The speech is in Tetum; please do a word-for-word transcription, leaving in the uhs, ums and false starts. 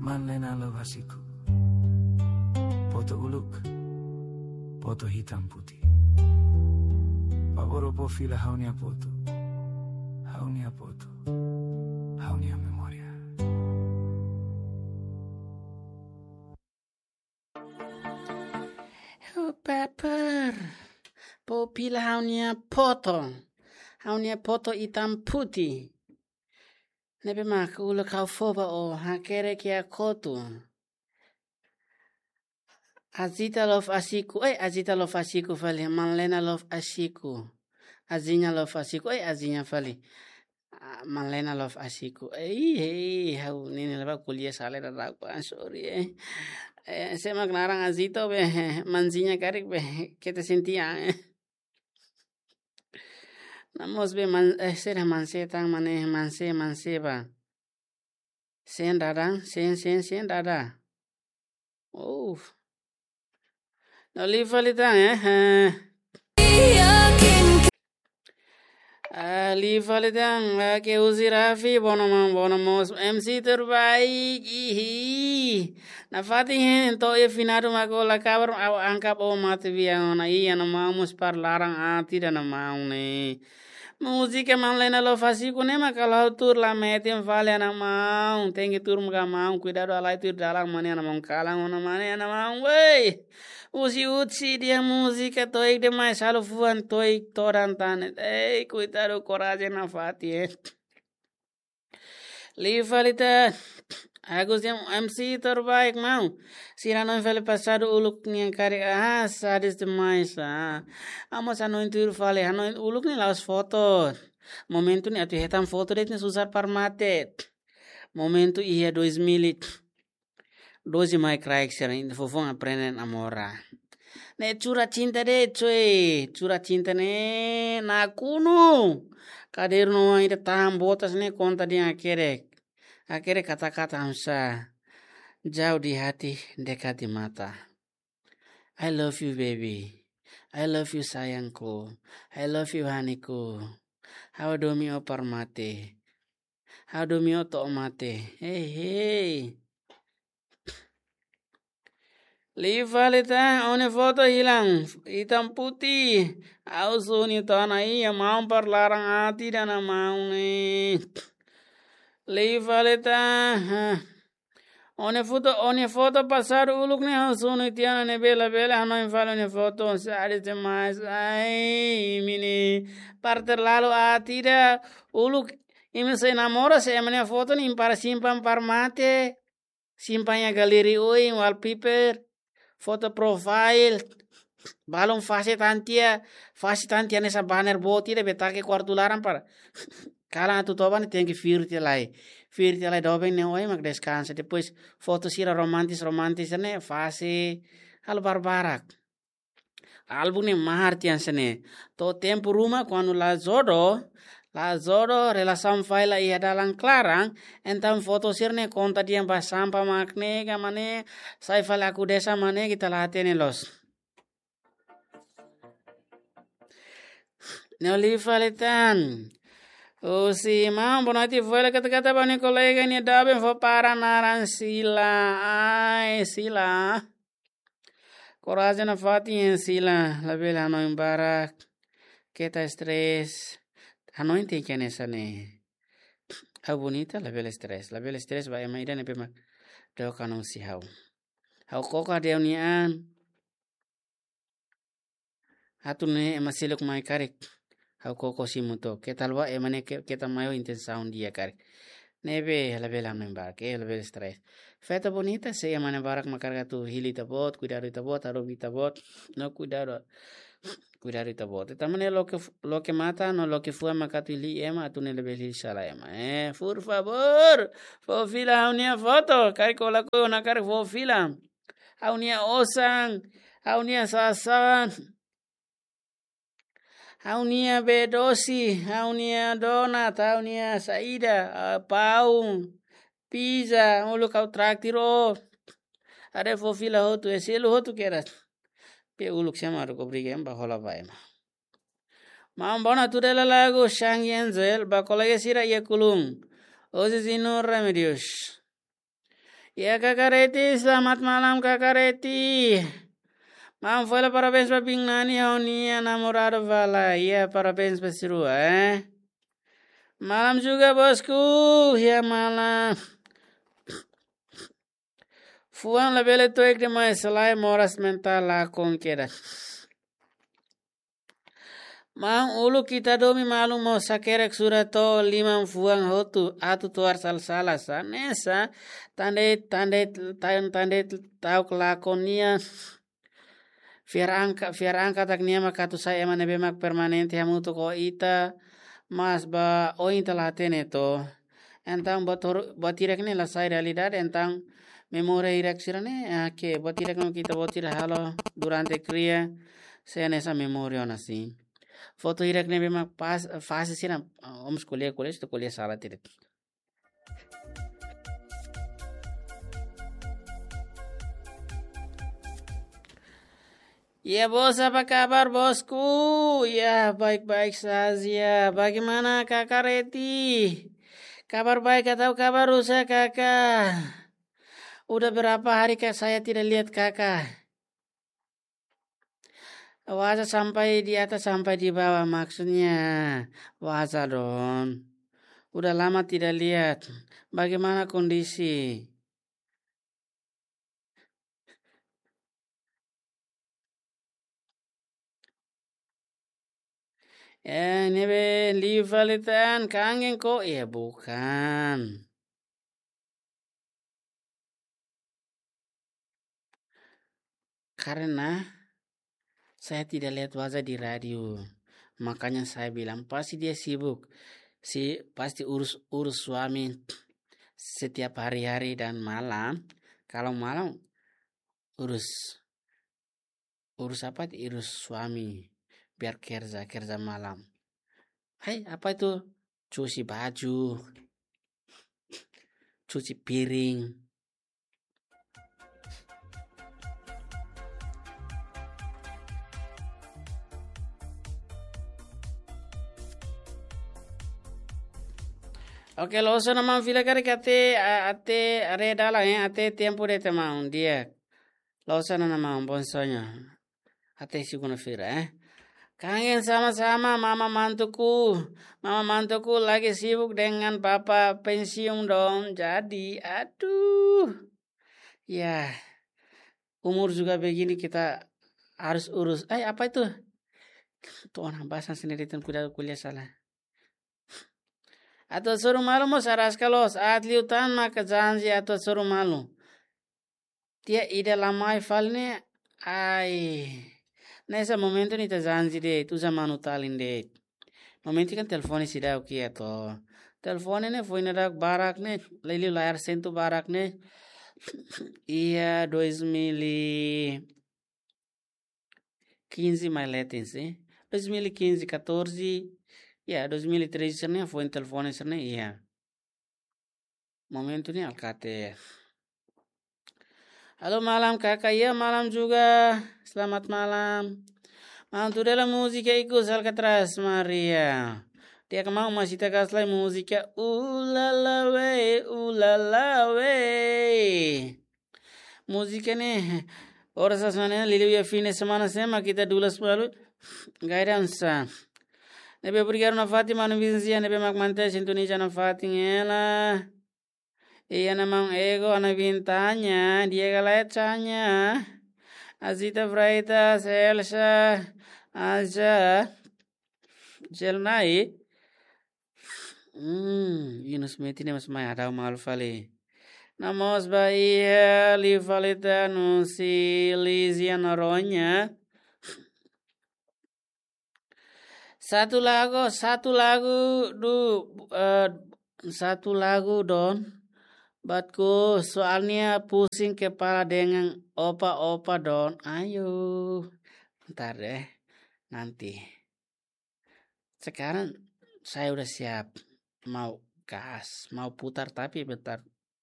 Manlena Love Asiku. Foto uluk, foto hitam putih. Favór fó fila ha'u-nia foto, ha'u-nia foto, ha'u-nia memória. Oh, paper. Fó fila ha'u-nia foto, ha'u-nia foto hitam putih. Ne'ebé mak uluk ha'u fó ba ó, hakerek iha kotuk. Azita Love Asiku, eh, Azita Love Asiku fali, Manlena Love Asiku. Azinha Love Asiku, eh, Azinha fali. Ah, Manlena Love Asiku. Eh, eh, ha'u ne'e ne'e la ba ko'alia sala ida rak ba, sorry, eh. Eh, sé mak naran Azita be, Manzinha karik be, keta sente an, eh. Namós be man, eh, sira manse tan mane, manse, manse ba. Sen dadan, sen, sen, sen dada. Oh. No liu fali tan, eh, eh. Ah, liu fali tan, ah, ke uzi Rafi, bono mam, bono mós, M C terbaik, ihi. Nafatin hein, to'o iha finadu mak ó la kabar, ha'u angka ó mate bian ona, iha ha'u-nia maun mós para laran aat ida ha'u-nia maun ne'e. Múzika Manlena Love Asiku ne'e mak halo ha'u tuur la metin fali ha'u-nia maun, tenke tuur maka maun, kuidadu halai tuir dalan mane ha'u-nia maun kalan ona mane ha'u-nia maun, wei. Husi Utsi dehan múzika to'o iha demais halo fuan to'o iha todan tan ne'e. Ei, kuidadu korajen nafatin, eh. Liu fali tan. Agus dehan M C terbaik maun. Sira hanoin fali pasadu uluk nian karik, ah, sadis demais, ah. Ha'u mós hanoin tuir fali, hanoin uluk ne'e la'ós foto. Momentu ne'e atu hetan foto de'it ne'e susar para mate. Momentu iha dois mil e doze mai kraik sira-nia foufoun aprende namora. Ne'e surat cinta de'it, coe, surat cinta ne'e nakonu. Kadernu ida tahan botas ne'e konta dehan hakerek. Hakerek kata-kata hamsa. Jauh di hati, dekat di mata. I love you, baby. I love you, sayangku. I love you, honeyku. Ha'u hadomi ó para mate. Ha'u hadomi ó to'o mate. Hei, hei. Liu fali tan, ó-nia foto hilang. Hitam putih. Ha'u suni tan, iha maun para laran aat ida ha'u-nia maun ne'e. Liu fali tan. Ó-nia foto, ó-nia foto pasadu uluk ne'e ha'u suni tiha ona, ne'ebé labele hanoin fali ó-nia foto, sadis demais. Ai, imi ne'e para terlalu aat ida. Uluk imi sei namora, sei ema nia foto ne'e imi para simpan para mate. Simpan iha galeria oin, wallpaper, foto profile. Balun fase tan tiha, fase tan tiha hanesan banner boot ida be take kuartu laran para kalan atu toba ne'e tenke fir tiha lai. Fir tiha lai doben ne'e oin mak deskansa. Depois foto sira romantis, romantis ne'e fase halo barbarak. Álbum ne'e mahar tiha hanesan ne'e. To'o tempu ruma kuandu la jodoh, la jodoh, relasaun falla iha dalan klaran, entaun foto sira-ne'e konta dehan ba sampah mak ne'e ka mak ne'e, sai fali aku desa mak ne'e, ita la hatene loos. Ne'e liu fali tan. Husi maun Bonatti fó hela kata-kata ba nia kolega nia doben fó para naran Sila. Ai, Sila. Korajen nafatin, Sila, labele hanoin barak, keta stress. Hanoin tenke hanesan ne'e. Ha'u bonita, labele stress. Labele stress ba ema ida ne'ebé mak dook an husi ha'u. Ha'u koko ha'u-nia an. Atu nune'e ema seluk mai karik. Ha'u koko simu took. Keta haluha ema ne'e ke-, keta mai ho intensaun di'ak karik. Ne'ebé labele hanoin barak, eh, labele stress. Feto bonita, se ema ne'e barak mak karik atu hili ita-boot, kuidadu ita-boot, hadomi ita-boot, no kuidadu, kuidadu ita-boot. Ita mak ne'e loke f-, loke matan, no loke fuan mak atu hili ema, atu nune'e labele hili sala ema. Eh, por favor, fó fila ha'u-nia foto, karik ó lakohi ona karik fó fila. Ha'u-nia osan, ha'u-nia sasán, ha'u-nia bee dosi, ha'u-nia donat, ha'u-nia saida, ah, paun, pizza, uluk ha'u traktir ó. Haree fó fila hotu, eh, selu hotu kedas. Be uluk sema mak obriga ema ba hola ba ema. Maun Bona tuda hela lagu Shang Yenzel ba kolega sira iha Kulun. Ozi Zinu Remedios. Ya, Kaka Reti, selamat malam, Kaka Reti. Maun fó hela parabéns ba biin Nani ho nia namoradu Vala. Ya, parabéns ba sira rua, eh. Malam juga, bosku. Ya, malam. Fuan labele tuir demais, selae moras mentál lakon kedas. Maun, uluk ita domin malu mós hakerek sura to'o liman fuan hotu atu tuar sala-sala sa. Hanesan tan de'it, tan de'it, tan, tan de'it ta'uk lakon nia. Fiar angka, fiar angka katak nia mak atu sai ema ne'ebé mak permanente hamutuk ho ita, mas ba oin ita la hatene to. Entaun buat horu, buat hirak ne'e la sai realidade, entaun memória hirak sira-ne'e, ah, ke buat hirak ne'e ita buat hirak halo durante kria, sei hanesan memória ona sin. Foto hirak ne'ebé mak pas, fase sira, ah, vamos escolher, escolher, escolher sala tira. Ya, bos, apa kabar, bosku? Ya, baik-baik saja. Bagaimana Kakak Reti? Kabar baik atau kabar rusak, Kakak? Udah berapa hari, Kak, saya tidak lihat Kakak. Waza sampai di atas, sampai di bawah, maksudnya waza dong. Udah lama tidak lihat. Bagaimana kondisi? Eh, ne'ebé liu fali tan, kangen ko? Ya, bukan. Karena saya tidak lihat wajah di radio. Makanya saya bilang, pasti dia sibuk. Si, pasti urus, urus suami setiap hari-hari dan malam. Kalau malam, urus, urus apa? Urus suami. Biar kerja, kerja malam. Hai, apa itu? Cuci baju, cuci piring. Oke, loos ona maun, fila karik até, a-, até haree dalan, eh, até tempu de'it maun, di'ak. Loos ona maun, bom sonho. Até segunda-feira, eh. Kangen sama-sama, mama mantuku. Mama mantuku lagi sibuk dengan papa pensiun dong. Jadi, aduh. Ya, umur juga begini kita harus urus. Eh, apa itu? Tuh orang bahasa sendiri, dan kuda kuliah salah. Atu hasoru malu mós araska loos, aat liután maka janji atu hasoru malu. Tiha ida la mai fali ne'e, ai. Hanesan momentu ne'e ita janji de'it, uza manu talin de'it. Momentu kan telefone seidauk iha to. Telefone ne'e foin daudauk barak ne'e, liuliu layar sentu barak ne'e. Iha dois mil e quinze mai leten, eh. Dois mil e quinze, catorze, ya, dois mil e treze sira-ne'e foin telefone sira-ne'e, ya. Momentu ne'e alkate. Halo malam Kakak, ya malam juga. Selamat malam. Maun tuda hela múzika ikus Alcatraz, Maria. Di'ak maun, mas ita kaslai múzika Ulala We, Ulala We. Múzika ne'e, oras hanesan ne'e, liuliu iha fim de semana sira mak ita dulas malu. Gai dansa. Ne'ebé obrigadu nafatin, manu Vinzia, ne'ebé mak manter sintoniza nafatin hela. Iha ona maun Ego, Ana Vintanya, Diego Laetanya, Azita Freitas, Elsa, Aja, Jelnai. Hmm, Yunus Meti ne'e mós mai hadau malu fali. Namoos ba iha liu fali tan husi Lizia Noronha. Satu lagu, satu lagu du, eh, satu lagu dong. Buatku soalnya pusing kepala dengan opa-opa dong. Ayo. Ntar deh. Nanti. Sekarang saya udah siap, mau gas, mau putar, tapi bentar,